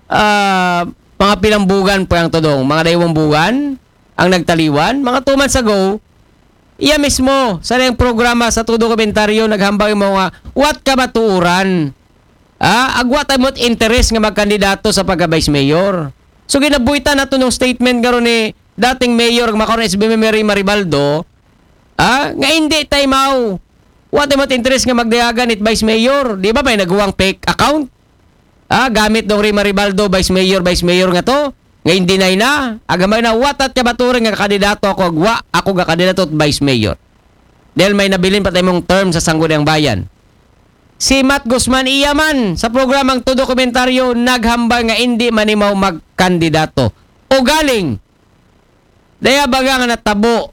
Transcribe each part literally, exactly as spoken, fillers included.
ah, mga pilang bugan po ang tudong, mga daywang bugan ang nagtaliwan, mga two months ago, iya mismo, sa iyang programa sa Todo Komentaryo, naghambal mo nga, what ka matuuran? Ah, agwa tayo mo't interes nga magkandidato sa pagka-vice mayor. So, ginabuhitan nato nung statement nga ron ni dating mayor, makaroon S B Mary Maribaldo, ah, nga hindi tayo mau. Wa tayo mo't interes nga magdayagan it vice mayor. Di ba may naguwang fake account? Ah, gamit dong Rey Maribaldo, vice mayor, vice mayor nga to. Nga hindi na ina. Agamay na, watat ka baturing nga kandidato ako, agwa, ako ga kandidato at vice mayor. Dahil may nabilin pa tayong term sa Sangguniang Bayan. Si Matt Guzman iya man sa programang To Dokumentaryo naghambal nga hindi manimaw magkandidato. O galing, daya baga nga natabo.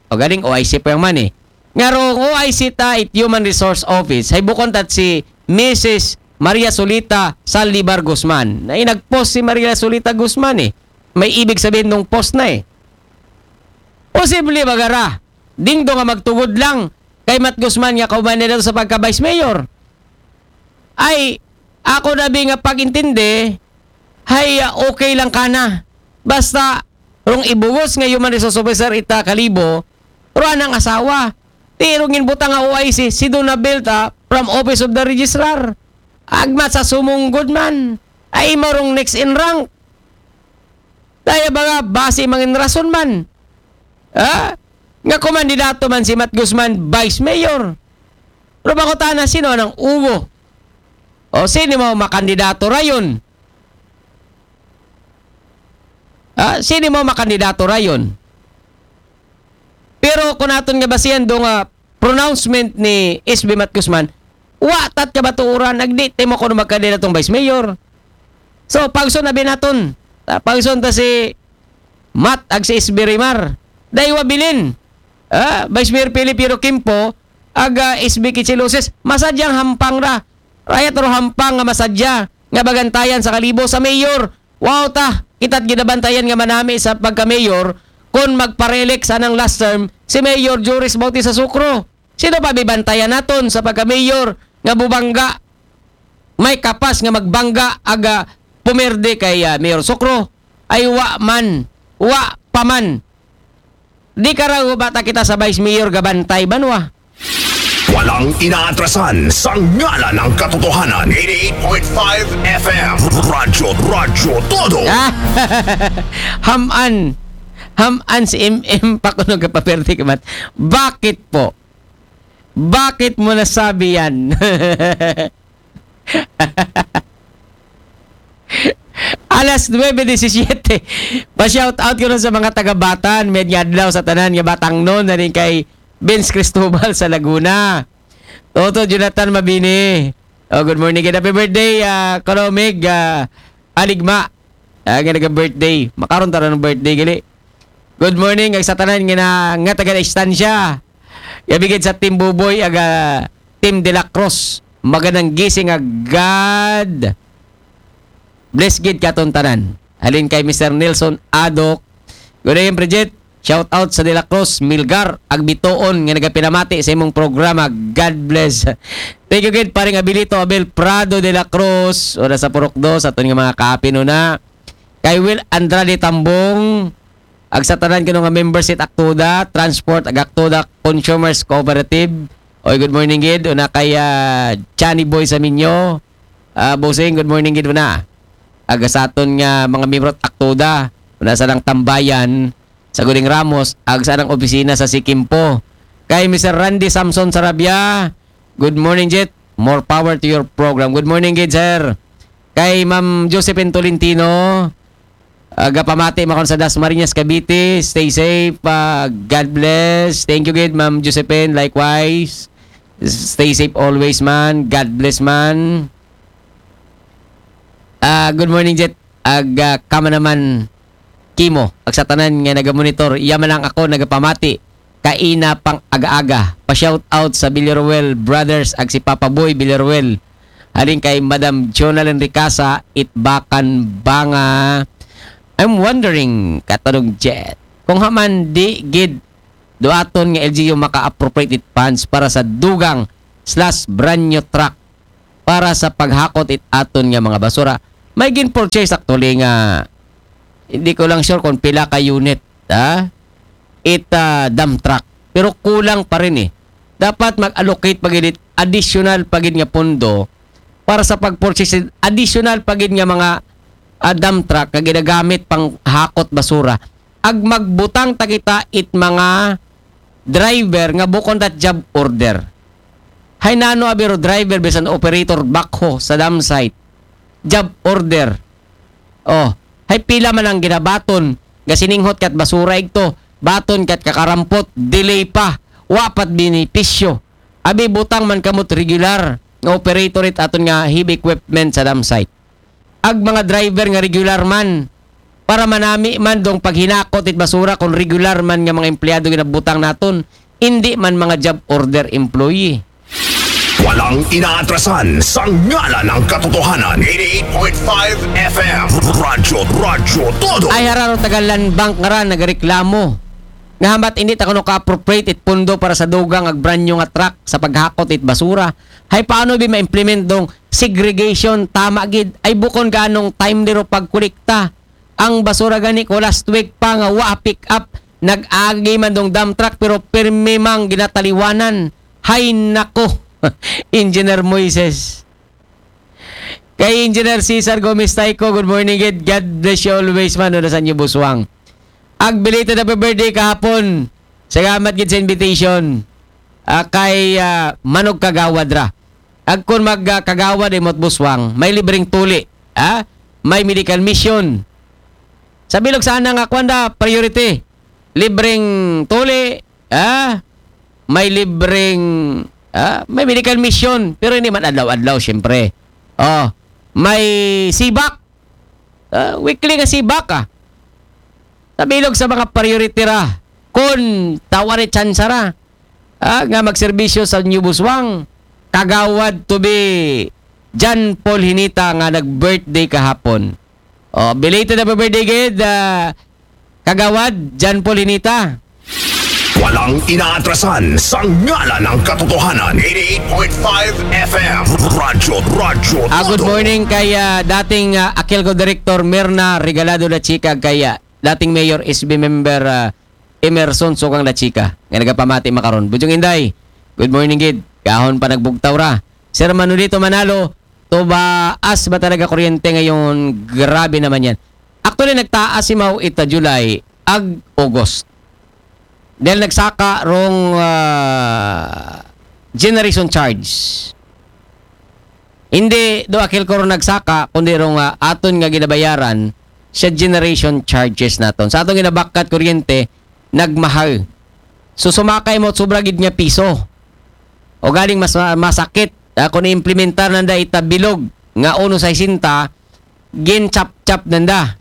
O galing, O I C pa yung man eh. Nga rong O I C ta it Human Resource Office, hay bukon tat si Missus Maria Solita Saldivar Guzman. Na nag-post si Maria Solita Guzman eh. May ibig sabihin nung post na eh. Posible ba gara? Dingdo nga magtugod lang kay Matt Guzman nga kauban na daw sa pagka-vice mayor. Ay, ako na bi nga pag-intindi, hay, ah, okay lang kana. Basta, rong ibugos nga human resource officer ita Kalibo, ro anang asawa. Ti rong ginbutang nga O I C, si Dona Belta from Office of the Registrar. Agmat sa sumunggod man. Ay, marong next in rank. Daya ba nga, base mangin rason man. Ha? Nga kumandidato man si Matt Guzman, vice mayor. Pero bakutana, sino nang ugo? O sino mo makandidato rayon? Ha? Sino mo makandidato rayon? Pero kung naton nga basihan do nga pronouncement ni S B Matt Guzman, wa tat kabaturan, nagdi timo ko magkandidatong vice mayor. So, pagson na binaton. Ta, pagson ta si Matt ag si S B Rimar. Daywa bilin. Ah, Vice Mayor Philip Hero Kimpo, ag, ah, S B Kichilusis, masadyang hampang ra. Rayat ro hampang nga masadya nga bagantayan sa Kalibo sa mayor. Wow ta, kita't ginabantayan nga manami sa pagka-mayor, kung magparelek sa nang last term, si Mayor Joris Bautista Sucro. Sino pa bibantayan naton sa pagka-mayor nga bubangga? May kapas nga magbangga aga pumerde kay, ah, Mayor Sucro? Ay wa man, wa pa man. Di ka raw bata kita sa vice mayor gabantay banwa. Walang inaatrasan sa ngalan ng katotohanan. Eighty-eight point five F M. Radyo, Radyo Todo. Ah, haman. Haman si M M pa kuno gapaperde ka man. Bakit po? Bakit mo nasabi yan? Alas nuebe disisiete. Pa-shout out ko nun sa mga taga-Batan. May adlaw sa tanan nga Batangnon na rin kay Vince Cristobal sa Laguna. Toto Jonathan Mabini. Oh, good morning. Happy birthday, ah, Kolomig, ah, Aligma. Ah, nga naga-birthday. Makaron tara ng birthday, gali. Good morning, ag sa tanan nga na, nga taga-distansya. Yabigid sa Team Buboy, aga Team De La Cruz. Magandang gising, ag God bless gid katon tanan. Halin kay Mister Nelson Adok. Good day, Bridget. Shout out sa De La Cruz, Milgar, ag Bitoon nga nagapinamati sa imong programa. God bless. Thank you gid, paring Abilito Abel Prado De La Cruz. Ora sa Purok Dos, aton nga mga kaapin una. Kay Will Andrade Tambong, ag sa tanan kuno nga members it Aktoda, Transport, ag Aktoda Consumers Cooperative. Oy, good morning gid. Una kay, ah, Johnny Boy Saminyo. Ah, Bossing, good morning gid una. Aga sa aton nga mga miyembro at Aktoda, una sa nang tambayan sa Guling Ramos, ag sa nang opisina sa Sikimpo. Kay Mister Randy Samson Sarabia, good morning, Jet. More power to your program. Good morning, gid, sir. Kay Ma'am Josephine Tolentino, aga pamati makon sa Dasmariñas, Cavite. Stay safe. Ah, God bless. Thank you, gid, Ma'am Josephine. Likewise. Stay safe always, man. God bless, man. Ah, good morning, Jet. Ag, ah, kama naman, Kimo. Ag sa tanan nga nagamonitor, iya man lang ako nagapamati. Kaina pang aga-aga. Pa-shout out sa Villaruel Brothers ag si Papa Boy Villaruel. Halin kay Madam Jonalyn Ricasa, Itbakan Banga. I'm wondering, Katanong Jet, kung haman di gid duaton nga L G U maka-appropriate it funds para sa dugang slash brand new truck para sa paghakot it aton nga mga basura. May gin-purchase actually nga, hindi ko lang sure kung pila ka unit, ha? It, ah, dump truck. Pero kulang pa rin eh. Dapat mag-allocate pa gid additional pa gid nga pondo para sa pag-purchase additional pa gid nga mga, ah, dump truck nga ginagamit pang hakot basura. Ag magbutang ta kita it mga driver nga bukon dat job order. Hay nano abiro driver bisan operator backhoe sa dump site. Job order. Oh, hay pila man ang ginabaton, gasininghot kat basura igto, baton kat kakarampot, delay pa, wa pat benepisyo. Abi butang man kamot regular nga operator it aton nga heavy equipment sa dump site. Ag mga driver nga regular man, para manami man dong paghinakot it basura kung regular man nga mga empleyado ginabutang naton, hindi man mga job order employee. Walang inaatrasan sa ngalan ng katotohanan. eighty-eight point five F M. Radyo, Radyo Todo. Ay hararo taga Land Bank nga ra nagareklamo nga hamat hindi ta kuno ka-appropriate it pondo para sa dugang ag brand new nga truck sa paghakot it basura. Hay paano bi ma-implement dong segregation? Tama gid, ay bukon ganong timely ro pagkolekta. Ang basura gani ko last week pa nga wa pick up, nag-agi man dong dump truck pero pirmi mang ginataliwanan. Hay nako. Engineer Moises. Kay Engineer Cesar Gomez Tayco, good morning gid. God bless you always man, una sa inyo buswang. Ag belated happy birthday kahapon. Salamat gid sa invitation. Ah, kay ah, Manog Kagawad ra. Ag kun mag ah, Kagawad imot buswang, may libreng tuli, ha? May medical mission. Sa bilog sana nga kwanda priority. Libreng tuli, ha? May libreng ah, may medical mission, pero hindi man adlaw-adlaw syempre. Oh, may sibak. Ah, weekly nga sibak ah. Sa bilog sa mga priority ra. Kun tawa ni tsansa ra. Ah, nga magserbisyo sa New Buswang. Kagawad to be John Paul Hinita nga nag-birthday kahapon. Oh, belated happy birthday gid, ah, Kagawad John Paul Hinita. Walang inaatrasan sa ngalan ng katotohanan. eighty-eight point five F M. Radyo, Radyo Ah, good Todo. Morning kay ah, dating ah, Aquilco Director Mirna Regalado La Chica, kay ah, dating Mayor S B member ah, Emerson Sukang La Chica nga nagapamati makaron. Bujong Inday, good morning gid. Kahon pa nagbugtaw ra. Sir Manolito Manalo, tubaas ba talaga kuryente ngayon? Grabe naman yan. Actually, nagtaas si Mau ita July ag August. Dahil nagsaka rong ah, generation charge. Hindi do Aquilco ro nagsaka, kundi rong ah, aton nga ginabayaran sa generation charges naton. Sa atong ginabakat kuryente, nagmahal. So sumakay mo sobra gid nga piso. O galing mas masakit ah, kung implementar nanda ita bilog nga uno sesenta, gin chap-chap nanda.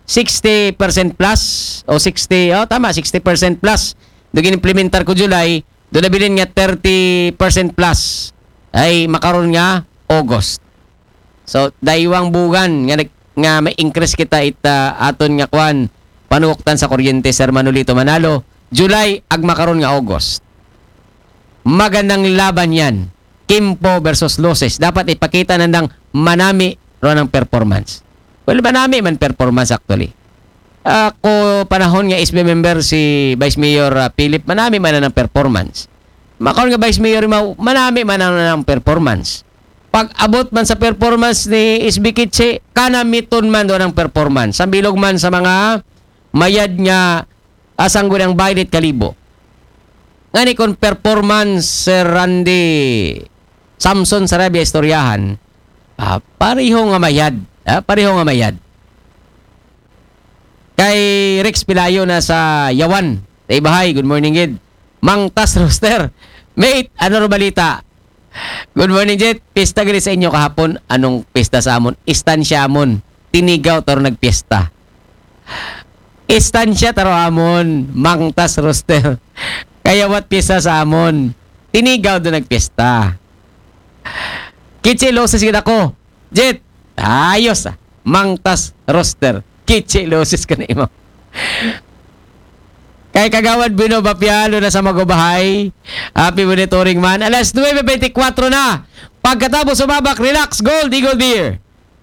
Sixty percent plus o sixty, oh tama, sixty percent plus. Do gin-implementar ko July, do nabilin nga thirty percent plus. Ay makaron nga August. So, daywang bugan nga nag- nga may increase kita ita aton nga kwan, panuktan sa kuryente, Sir Manolito Manalo, July ag makaron nga August. Magandang laban yan. Kimpo versus Loses. Dapat ipakita nandang manami ro ng performance. Well, manami man performance actually. Ako panahon nga S B member si Vice Mayor ah, Philip, manami man ang performance. Makaon nga Vice Mayor Mau, manami man ang, ang performance. Pag abot man sa performance ni S B Kitse, kanamiton man doon ang performance. Sambilog man sa mga mayad nga asang gunang baylit kalibo. Ngani kon performance, Sir Randy Samson Sarabia istoryahan, ah, pareho nga mayad. Ah, pareho nga mayad. Kay Rex Pilayo na sa Yawan. Sa Ibahay, good morning gid. Mang Tas Roster. Mate, ano ro balita? Good morning, Jet. Pista gani sa inyo kahapon. Anong pista sa amon? Istansya amon. Tinigaw taro nagpista. Istansya taro amon. Mang Tas Roster. Kaya what pista sa amon? Tinigaw do nagpista. Kitsi loses gid ako. Jet, ayos ah. Mang Tas Roster. Kitsi loses ka na imo. Kay Kagawad Bino Bapialo na sa Magubahay. Happy monitoring man. Alas nuebe bente kwatro na. Pagkatapos sumabak, relax, Gold Eagle Beer.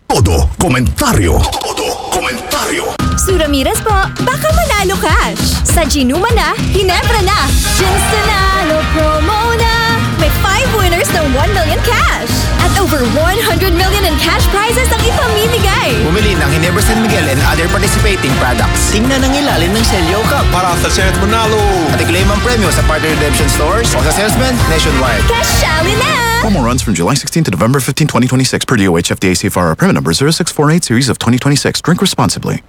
Todo komentaryo. Todo komentaryo. Sue Ramirez po, baka manalo cash. Sa Ginuma na, Ginebra na. Gin's Nanalo promo na. May five winners ng one million cash. At over one hundred million in cash prizes ang ipamimigay. Bumili ng Ginebra San Miguel and other participating products. Tingnan ang ilalim ng Selyo Cup para sa chance manalo. At i-claim ang premyo sa partner redemption stores o sa salesman nationwide. Kasali na! Promo runs from July sixteenth to November fifteenth, twenty twenty-six, per D O H F D A C F R, permit number zero six four eight series of twenty twenty-six. Drink responsibly.